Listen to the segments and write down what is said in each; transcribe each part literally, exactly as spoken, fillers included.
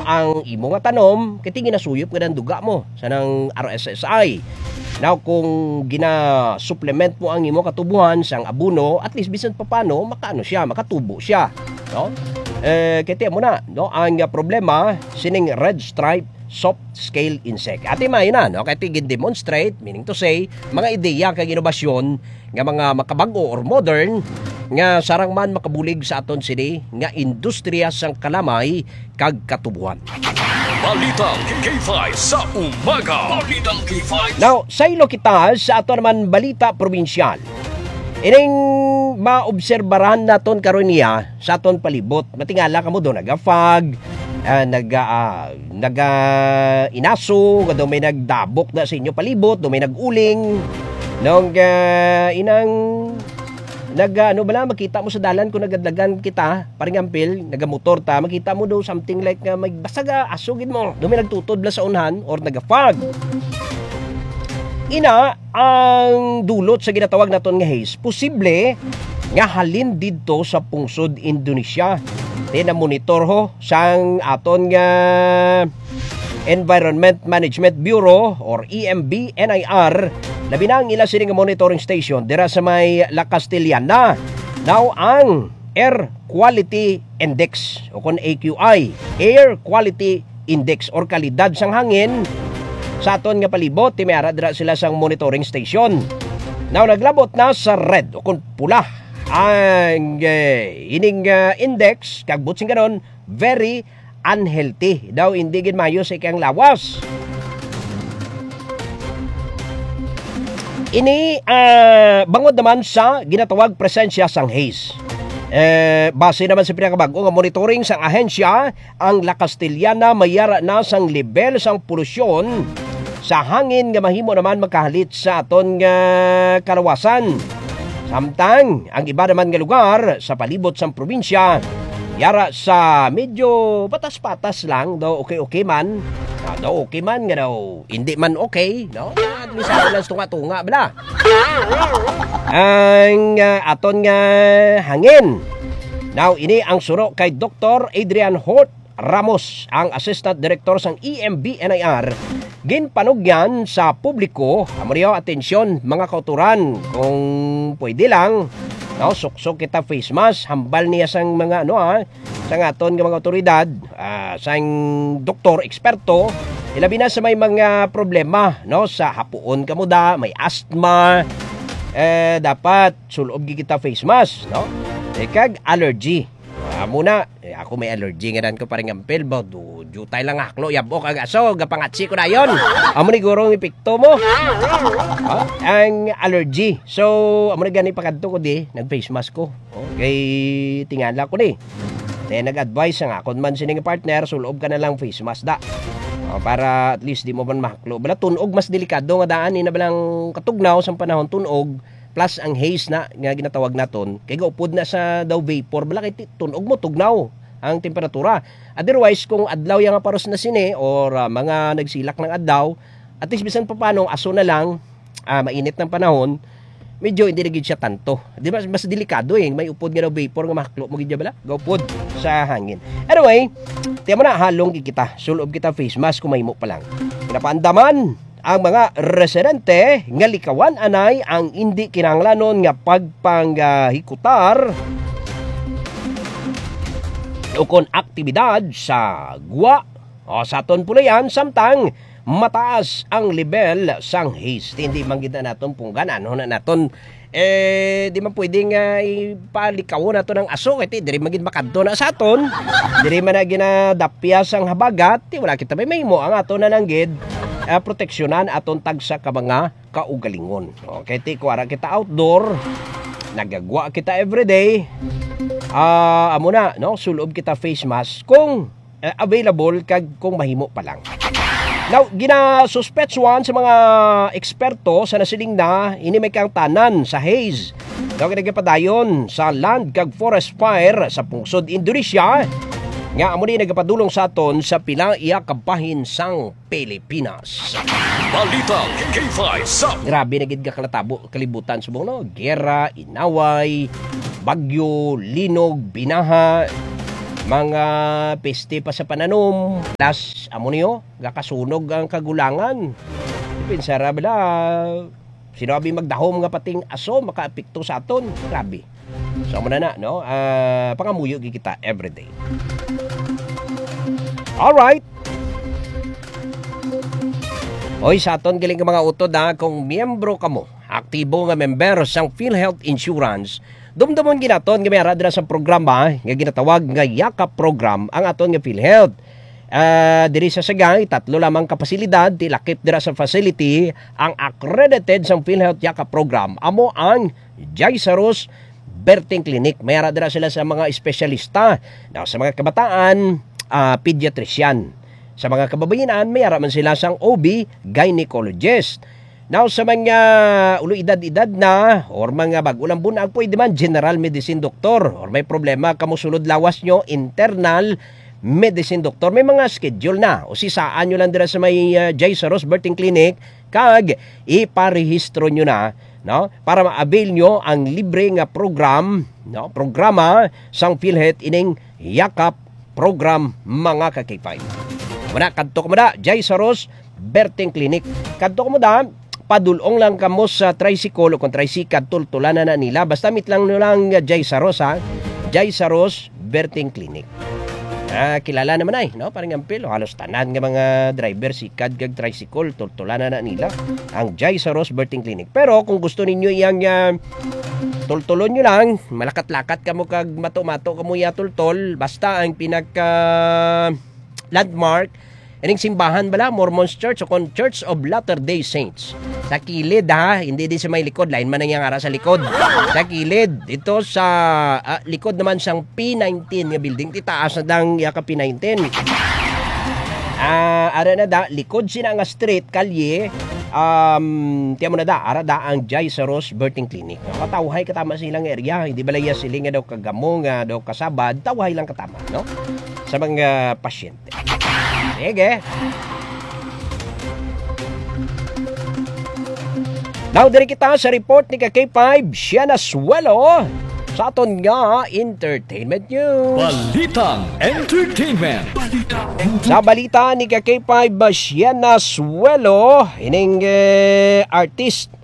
ang imo nga tanom, kay ti ginasuyop nga ang duga mo sa nang R S S I. Now, kung gina-supplement mo ang imo katubuhan sang abono, at least bisan papano, makaano siya, makatubo siya, no? Eh, kay ti mo na, no? Ang, ah, problema, sining red stripe soft scale insect. Ati mayo na, no? Kay ti gin-demonstrate, meaning to say, mga ideya kag inobasyon nga mga makabag-o or modern nga sarang man makabulig sa aton sini nga industriya sang kalamay kag katubuhan. Balitang K five sa umaga. Balitang K five. Now, saylo kita sa ato naman balita probinsyal. Ining maobserbaran naton karon niya sa aton palibot. Matingala kamo do nagafag, ah, naga, ah, naga inaso, nga do may nagdabok na sa inyo palibot, do may nag-uling. Nung, ah, inang naga, ano bala, makita mo sa dalan kung nagadlagan kita, paring ampil, nagamotor ta, makita mo do something like nga may basag, ah, aso gid mo. Do may nagtutod bala sa unhan or nagafag. Ina, ang dulot sa ginatawag naton nga haze, posible nga halin didto sa pungsod Indonesia. Ti na-monitor ho sang aton nga Environment Management Bureau or E M B N I R, labi na ang ila sini nga monitoring station dira sa may La Castellana. Now, ang Air Quality Index o kon A Q I, Air Quality Index or kalidad sang hangin sa aton nga palibot, ti may ara dira sila sang monitoring station. Now, naglabot na sa red o kon pula ang, eh, ining, ah, index, kag buot silingon, very unhealthy. Daw hindi gid maayo sa ikang lawas. Ini, ah, bangod naman sa ginatawag presensya sang haze. Eh, base naman sa pinakabag-o nga monitoring sang ahensya, ang La Castellana may ara na sang lebel sang polusyon sa hangin nga mahimo naman makahalit sa aton nga kalawasan. Samtang ang iba naman nga lugar sa palibot sang probinsya, yara sa medyo patas-patas lang, daw okay-okay man. Ah, daw okay man nga daw hindi man okay, no? At least ako lang tunga-tunga, bala. Ang, ah, aton nga hangin. Now, ini ang suro kay Doktor Adrian Hort Ramos, ang Assistant Director sang E M B N I R. Ginpanugyan sa publiko, amo niyo, atensyon, mga kauturan, kung pwede lang, no, suksok kita face mask, hambal niya sang mga, ano, ah, sang aton nga mga awtoridad, ah, sang doktor, eksperto, ilabi na sa may mga problema, no, sa hapuon kamo da, may asthma, eh, dapat sulob gid kita face mask, no? Eh, kag allergy. Ah, muna, eh, ako may allergy nga dan ko, paring ampil ba? Du-, jutay lang haklo, yabok ang aso, gapangatsi ko dayon. Amo ni guro ang epekto mo. Ah, ang allergy. So, amo na gani pakadto ko di, nag-face mask ko. Oh, kay tingala ko ni. Then nag-advise ang akon man sining partner, sulob ka na lang face mask da. Oh, para at least di mo man mahaklo. Bala, tunog mas delikado nga daan, ina balang katugnaw sang panahon tunog, plus ang haze na nga ginatawag naton, kay gaupod na sa daw vapor, bala kay ti-, tunog mo, tugnaw ang temperatura. Otherwise, kung adlaw ya nga paros na sini or, ah, mga nagsilak ng adlaw, at least bisan pa paano, aso na lang, ah, mainit ng panahon, medyo hindi na gid siya tanto. Di ba, mas delikado eh. May upod nga daw vapor nga mahaklo mo gid bala. Gaupod sa hangin. Anyway, tiyan mo na, halong gid kita. Sulob kita face mask kung mahimo pa lang. Pinapaandaman ang mga residente nga likawan anay ang indi kinahanglanon nga pagpanghikutar ukon aktibidad sa gwa o sa aton pulayan, samtang mataas ang lebel sang haze. Hindi man gid na naton punggan, ano na naton, eh, di man pwede nga ipalikawon naton ang aso, kay ti, diri man gid makadto na sa aton, diri man na ginadapya sang habagat, ti wala kita may mahimo. Ang aton na lang gid, ah, proteksyonan aton tagsa ka mga kaugalingon. Okay, ti, kuwara kita outdoor, nagagwa kita everyday, ah, amo na, no? Sulob kita face mask kung, eh, available kag kung mahimo pa lang. Now, ginasuspetsuhan sa mga eksperto sa nasiling na ini may kaangtanan sa haze. Daw nagapadayon sa land kag forest fire sa pungsod Indonesia, nga amo ni nagapadulong sa aton sa pila iya kabahin sang Pilipinas. Balita K five sa Grabe na gid ka kalatabo, kalibutan subong, no? Gera, inaway, bagyo, linog, binaha. Mga peste pa sa pananom. Plus, amo niyo, gakasunog ang kagulangan. Pensara bala, sino abi magdahom nga pating aso makaapekto sa aton? Grabe. So, amo na na, no? Ah, pangamuyo gyud kita everyday. Alright. Oy, sa aton galing nga mga utod, ha, kung miyembro kamo, aktibo nga member sang PhilHealth Insurance, dumdumon ginaton nga may ara dira sa programa nga ginatawag nga Yakap Program ang aton nga PhilHealth. Ah, diri sa Sagay, tatlo lamang ka pasilidad ti lakip dira sa facility ang accredited sang PhilHealth Yakap Program. Amo ang Jaisaros Birthing Clinic. May ara dira sila sa mga espesyalista, na sa mga kabataan, ah, pediatrician. Sa mga kababayinan, may ara man sila sang O B gynecologist. Now, sa mga ulo edad-edad na or mga bag-o lang bunag, pwede man general medicine doctor, or may problema kamo sulod lawas nyo, internal medicine doctor. May mga schedule na. O sisaan nyo lang dira sa may, ah, Jaisaros Birthing Clinic, kag iparehistro nyo na, no? Para ma-avail nyo ang libre nga program, no? Programa sang PhilHealth ining Yakap Program, mga ka-K five. Muna, kadto ka muna, Jaisaros Birthing Clinic. Kadto ka muna, padulong lang kamo sa tricycle o kung tricycle, tultulan na, na nila. Basta meet lang nyo lang, uh, Jaisaros, ha? Jaisaros Birthing Clinic. Ah, kilala naman ay, no? Parang ampil, halos tanan nga mga driver, sikad kag tricycle, tultulan na, na nila ang Jaisaros Birthing Clinic. Pero kung gusto ninyo iyang, ah, tultulon nyo lang, malakat-lakat kamo kag mato-mato kamo iya tultol, basta ang pinaka landmark, ining simbahan bala, Mormon Church o kon Church of Latter-day Saints. Sa kilid, ha, hindi din sa may likod, lain man ang iyang ara sa likod. Sa kilid, dito sa, ah, likod naman sang P nineteen nga building, ti taas na dang iya ka P nineteen. Ah, ara na da, likod sina nga street, kalye, um, tiyan mo na da, ara da ang Jaisaros Birthing Clinic. Patawhay katama sa ilang area, hindi bala iya siling nga daw kagamo, nga daw kasabad, tawhay lang katama, no? Sa mga pasyente. Sige. Now, diri kita sa report ni ka K five, Sienna Suelo, sa aton nga entertainment news. Balitang entertainment. Sa balita ni ka K five, Sienna Suelo, ining, eh, artist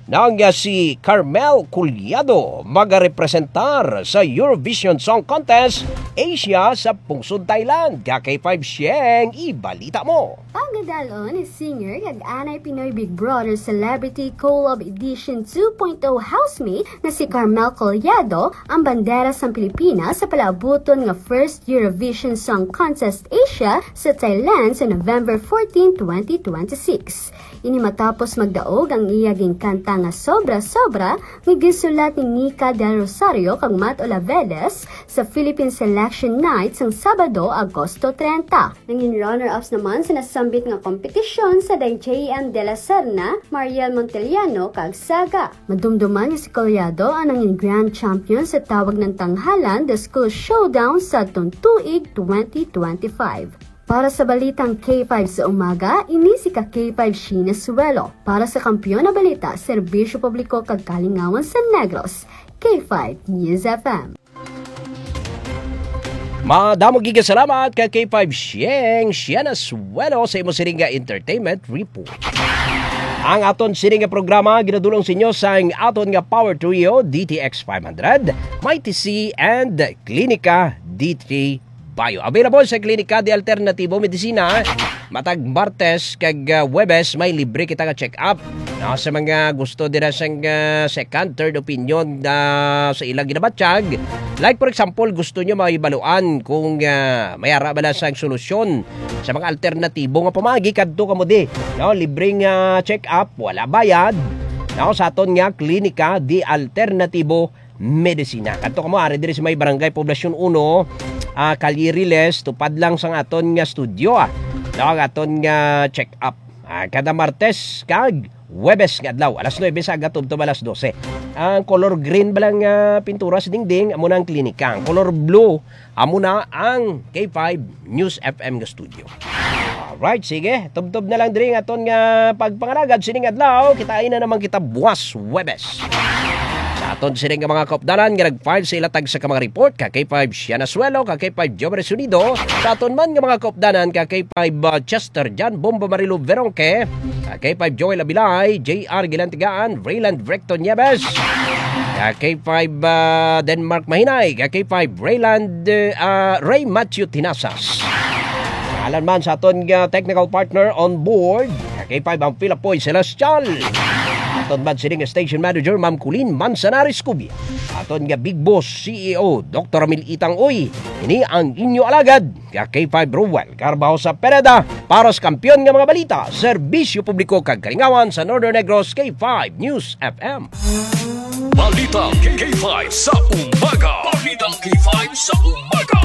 na nga si Carmel Collado magarepresentar sa Eurovision Song Contest Asia sa pungsod Thailand. Ka K five Sieng, ibalita mo. Pagadalon ni singer kag anay Pinoy Big Brother Celebrity Collab Edition two point oh housemate na si Carmel Collado ang bandera sang Pilipinas sa palaabuton nga first Eurovision Song Contest Asia sa Thailand sa November fourteen, twenty twenty-six. Ini matapos magdaog ang iya ginkanta nga Sobra Sobra nga ginsulat ni Nika Del Rosario kag Matt Olavedes sa Philippine Selection Night sang Sabado, Agosto treinta. Nangin runner-ups naman sa nasambit nga kompetisyon sa J M de la Serna, Mariel Monteliano, kag Saga. Madumduman nga si Collado ang nangin grand champion sa tawag ng tanghalan The School Showdown sa tuig twenty twenty-five. Para sa Balitang K five sa Umaga, ini si ka K five Sheena Suelo. Para sa Kampiyon na Balita, Serbisyo Publiko kag Kalingawan sa Negros, K five News F M. Madamo gid nga salamat ka K five Sieng, Sienna Suelo sa imo sining nga entertainment report. Ang aton sining nga programa ginadulong sa inyo sang aton nga Power Trio, D T X five hundred, Mighty C, and Klinika D three Bio. Available sa Klinika de Alternatibo Medisina. Matag Martes kag, ah, Huwebes may libre kita nga check-up. No, sa mga gusto dira sang, ah, second, third opinion, ah, sa ilang ginabatyag. Like for example, gusto nyo mahibaluan kung, ah, may ara bala sang solusyon sa mga alternatibo nga pamaagi, kadto kamo di. No, libreng, ah, check-up, wala bayad. No, sa aton nga Klinika de Alternativo Medisina. Kadto kamo ari diri sa may Barangay Poblacion uno, ah, Calle Riles, tupad lang sang aton nga studio, ah. No, ang aton nga check-up. Ah, kada Martes kag Huwebes nga adlaw, alas nuebe sa aga tubtob alas dose. Ang color green ba lang, ah, pintura sa dingding, amo na ang klinika. Ang color blue, amo na ang K five News F M nga studio. Alright, sige. Tubtob na lang diri ang aton nga pagpangalagad sining adlaw. Kitai na naman kita buwas Huwebes. Sa Aton sini nga mga kaupdanan nga nag-file sa ilatag sa ka mga report, ka K five Siana Suelo, ka K five Jover Sunido, sa aton man nga mga kaupdanan, ka K five, uh, Chester John Bombo Marilo Veronque, ka K five Joel Abilay, J R Gilantigaan, Rayland Recto Nieves, ka K five, uh, Denmark Mahinay, ka K five Rayland, uh, Ray Matthew Tinasas. Alan man sa aton nga technical partner on board, ka K five ang Pilapoy Celestial. Aton man sining station manager, Ma'am Colleen Manzanares Cubia. Aton nga Big Boss C E O, Doktor Ramil Itang Uy. Ini ang inyo alagad, ka K five Ruel Carbajosa Pereda, para sa kampiyon nga mga balita, serbisyo publiko kag kalingawan sa Northern Negros, K five News F M. Balita K five sa umaga. Balita K five sa umaga.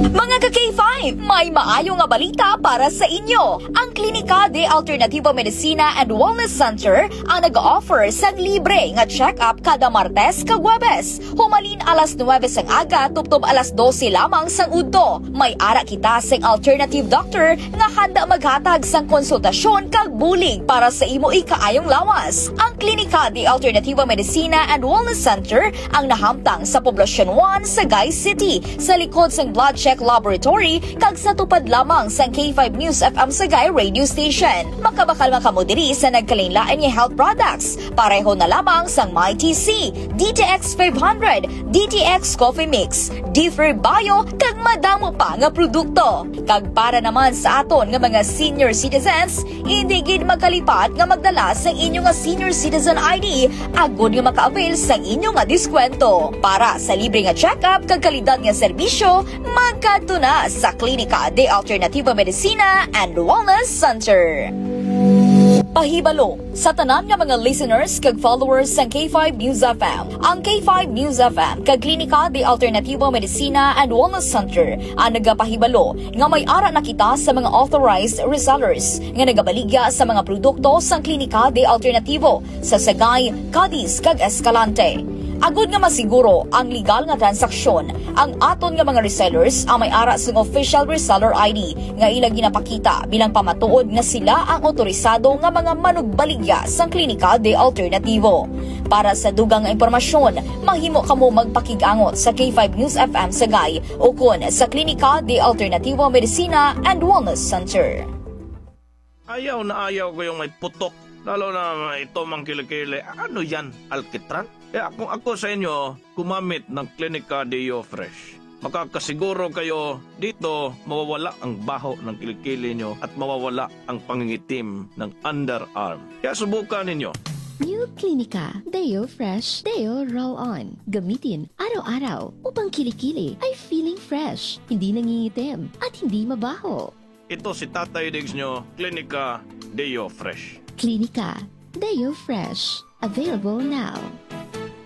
Mga ka K five, may maayo nga balita para sa inyo. Ang Klinika de Alternativo Medicina and Wellness Center ang nag-offer sang libre nga check-up kada Martes kag Huwebes, humalin alas nuwebe sang aga tubtob alas dose lamang sang udto. May ara kita sing alternative doctor nga handa maghatag sang konsultasyon kag bulig para sa imo ikaayong lawas. Ang Klinika de Alternativo Medicina and Wellness Center ang nahamtang sa Poblacion one, Sagay City, sa likod sang Blood Check Laboratory kag sa tupad lamang sang K five News F M Sagay Radio Station. Makabakal man kamo diri sa nagkalainlain nga health products, pareho na lamang sang My T C, D T X five hundred, D T X Coffee Mix, Differ Bio, kag madamo pa nga produkto. Kag para naman sa aton nga mga senior citizens, hindi gid magkalipat nga magdala sang inyo nga senior citizen I D agod nga maka-avail sang inyo nga diskwento. Para sa libre nga check-up kag kalidad nga serbisyo, magkadto na sa Klinika de Alternativo Medicina and Wellness Center. Pahibalo sa tanan nga mga listeners kag followers sang K five News F M, ang K five News F M kag Klinika de Alternativo Medicina and Wellness Center ang nagapahibalo nga may ara na kita sa mga authorized resellers nga nagabaligya sa mga produkto sang Klinika de Alternativo sa Sagay, Cadiz, kag Escalante. Agod nga masiguro ang legal nga transaksyon, ang aton nga mga resellers ang may ara sing official reseller I D nga ila ginapakita bilang pamatuod nga sila ang otorisado nga mga manugbaligya sang Klinika de Alternativo. Para sa dugang nga impormasyon, mahimo kamo magpakig-angot sa K five News F M Sagay ukon sa Klinika de Alternativo Medicina and Wellness Center. Ayaw na ayaw ko yung may putok, lalo na ito mang kilikili. Ano yan, alkitran? Kaya kung ako sa inyo, gumamit ng Klinika Deo Fresh. Makakasiguro kayo dito mawawala ang baho ng kilikili nyo at mawawala ang pangingitim ng underarm. Kaya subukan ninyo. New Klinika Deo Fresh Deo Roll On. Gamitin araw-araw upang kilikili ay feeling fresh, hindi nangingitim, at hindi mabaho. Ito si Tatay Diggs nyo, Klinika Deo Fresh. Klinika Deo Fresh. Available now.